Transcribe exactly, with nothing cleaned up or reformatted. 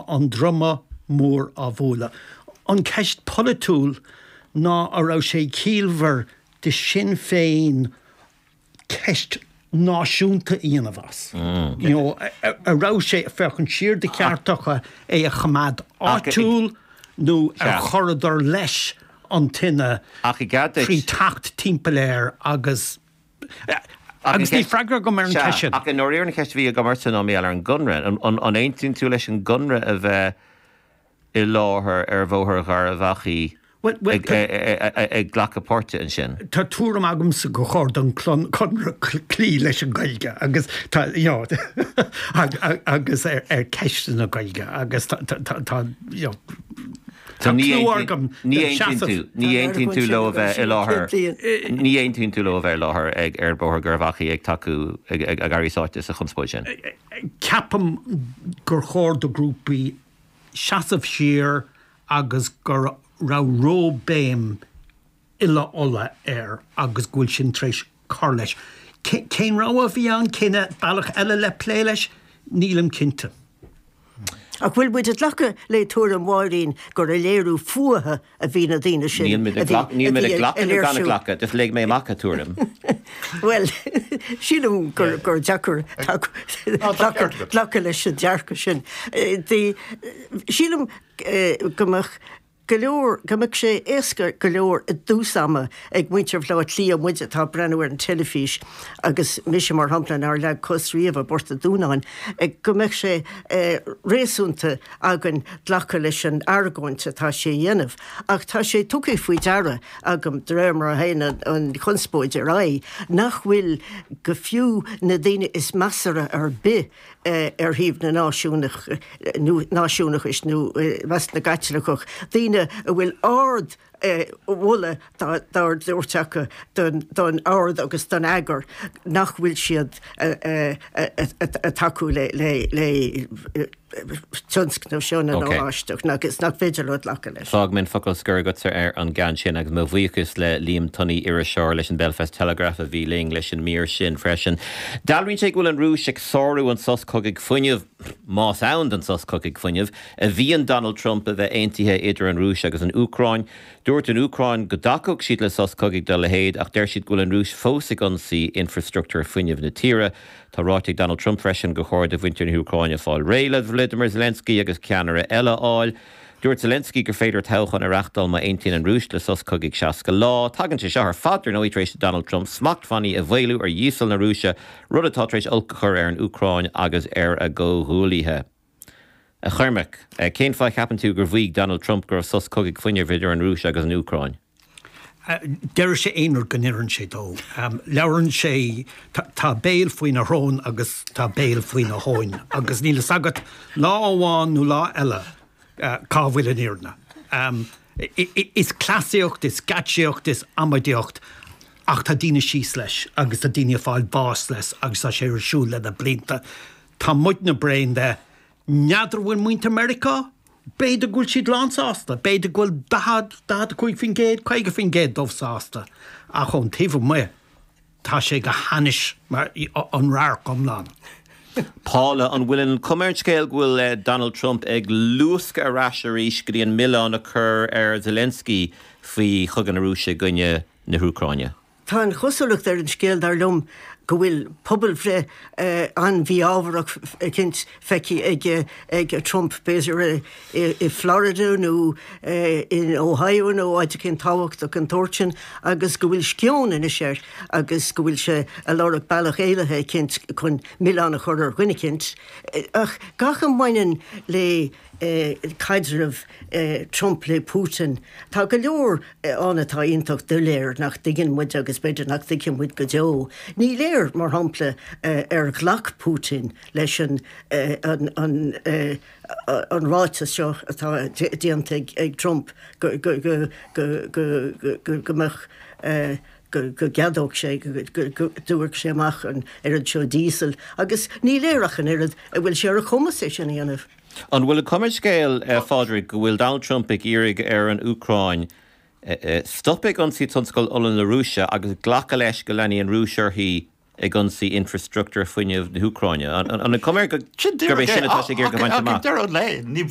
an druma mór á bhualadh. An ceist polaitiúil ná an raibh sé ciallmhar de Sinn Féin ceist náisiúnta a dhéanamh as. Mm. You know, an raibh sé féachaint siar de cheartacha é a choimeád áitiúil nó ar chuireadar leis an tine trí teacht timpeall air agus agus ní freagra agam ar an cheist sin. Ach in oir an cheist bhí agam ortsa ná mé ar an gConradh an aontaíonn tú leis an gConradh a bheith i láthair ar Bhóthar Gharbh Achaidh ag glacadh páirte ansin. Tá tuairim agamsa gur chóir don Chonradh cloí leis an Ghaeilge agus tá agus ar cheist na Gaeilge agus tá Ní aontaíonn tú leo a bheith i láthair ní aontaíonn tú leo a bheith i láthair ag ar Bhóthar Gharbh Achaidh ag tacú ag éirí sáite sa chonspóid sin. Ceapaim gur chóir do grúpaí seasamh siar agus go raibh róbhéim uile-Uladh air agus go bhfuil sin tar éis cur leis. Cén rogha a bhí ann cén bealach eile le plé leis? Nílim cinnte. Ach bhfuil muid ag glacadh le tuairim Mháirín gur ag léiriú fuatha a bhí na daoine sin Níl muid ag glacadh nó gan ag glacadh, just léigh mé amach a tuairim. Bhuel, sílim gur gur deacair glacadh leis an dearcadh sin. Sílim go mbeadh go leor, go mbeadh sé éasca go leor i dtús ama ag muintir Bhaile Átha Cliath, muid atá ag breathnú ar an teilifís agus mise mar shampla nár leag cos riamh i bPort an Dúnáin, go mbeadh sé réasúnta againn glacadh leis an argóint atá sé a dhéanamh. Ach tá sé tugtha faoi deara agam, de réir mar a théann an chonspóid ar aghaidh, nach bhfuil go fiú na daoine is measartha ar bith ar thaobh na náisiúnach nó náisiúnachais nó i measc na gCaitliceach, daoine a bhfuil ard mholadh dá dtabhairt acu don ord agus don eagar, nach bhfuil siad ag tacú le tionscnamh seo na nOráisteach agus nach féidir leo glacadh leis. Fágfaidh mé an focal scoir agatsa ar an gceann sin agus mo bhuíochas le Liam Tunney, iriseoir leis an Belfast Telegraph a bhí linn leis an mír sin freisin. Dealraíonn sé go bhfuil an Rúis ag sárú an sos cogaidh fuinnimh, más ann don sos cogaidh fuinnimh, a mhaíonn Donald Trump a bheith aontaithe idir an Rúis agus an Úcráin. Dúirt an Úcráin go dtacódh siad le sos cogaidh dá leithéid ach deir siad go bhfuil an Rúis fós ag ionsaí infreastruchtúr fuinnimh na tíre. Tá ráite ag Donald Trump freisin gur chóir do mhuintir na hÚcráine fáil réidh le Volodymyr Zelensky agus ceannaire eile a fháil. Dúirt Zelensky gur féidir toghchán a reáchtáil má aontaíonn an Rúis le sos cogaidh seasca lá. Tagann sé seo ar fad ar ndóigh tar éis do Donald Trump smachtbhannaí a mhaolú ar dhíosal na Rúise, rud atá tar éis olc a chur ar an Úcráin agus ar a gcomhghuaillithe. A Chormaic, cén fáth a cheapann tú gur mhaígh Donald Trump go raibh sos cogaidh fuinnimh idir an Rúis agus an Úcráin? Deir sé aon rud go n-oireann sé dó. Labhrann sé, tá béal faoina shrón agus tá béal faoina thóin agus níl fhios agat lá amháin nó lá eile cá bhfuil an fhírinne. Is cleasaíocht, is geáitsíocht, is amaidíocht ach tá daoine síos leis agus tá daoine ag fáil bháis leis agus tá sé ar siúl le na blianta. Tá muidne bréan de. N'fheadar an bhfuil muintir Meiriceá? B'fhéidir go bhfuil siad lánsásta, b'fhéidir go bhfuil daichead, daichead a cúig faoin gcéad, caoga faoin gcéad dóibh sásta, ach ón taobh amuigh, tá sé go hainnis mar an radharc iomlán. Paula, an bhfuil an chuma ar an scéal go bhfuil Donald Trump ag luascadh ar ais arís go dtí an milleán a chur ar Zelensky faoi chogadh na Rúise i gcoinne na hÚcráine? Tá an chosúlacht ar an scéal, dar liom, go bhfuil pobalbhreith an-mhí-ámharach eicínt feicthe ag Trump, b'fhéidir i Florida nó in Ohio nó áit eicínt tábhachtach den tsórt sin, agus go bhfuil sceon anois air agus go bhfuil sé ag lorg bealach éalaithe eicínt chun milleán a chur ar dhuine eicínt. Ach gach a mbaineann le caidreamh Trump le Putin, tá go leor ann atá iontach doiléir, nach dtuigeann muid agus b'fhéidir nach dtuigfidh muid go deo. Ní léir, mar shampla, ar ghlac Putin leis an an ráiteas seo atá déanta ag Trump go mbeadh go gceadódh sé, go dtabharfadh sé amach an oiread seo díosail agus ní léir ach an oiread an bhfuil sé ar a chumas é sin a dhéanamh. An bhfuil an chuma ar an scéal, a Phádraig, go bhfuil Donald Trump ag iarraidh ar an Úcráin stop ag ionsaí tionscal ola na Rúise agus glacadh leis go leanfaidh an Rúis uirthi ag ionsaí infreastruchtúr fuinnimh na hÚcráine? An an cuma air gurb é sin atá sé ag iarraidh a bhaint amach? Ach ag deireadh an lae, ní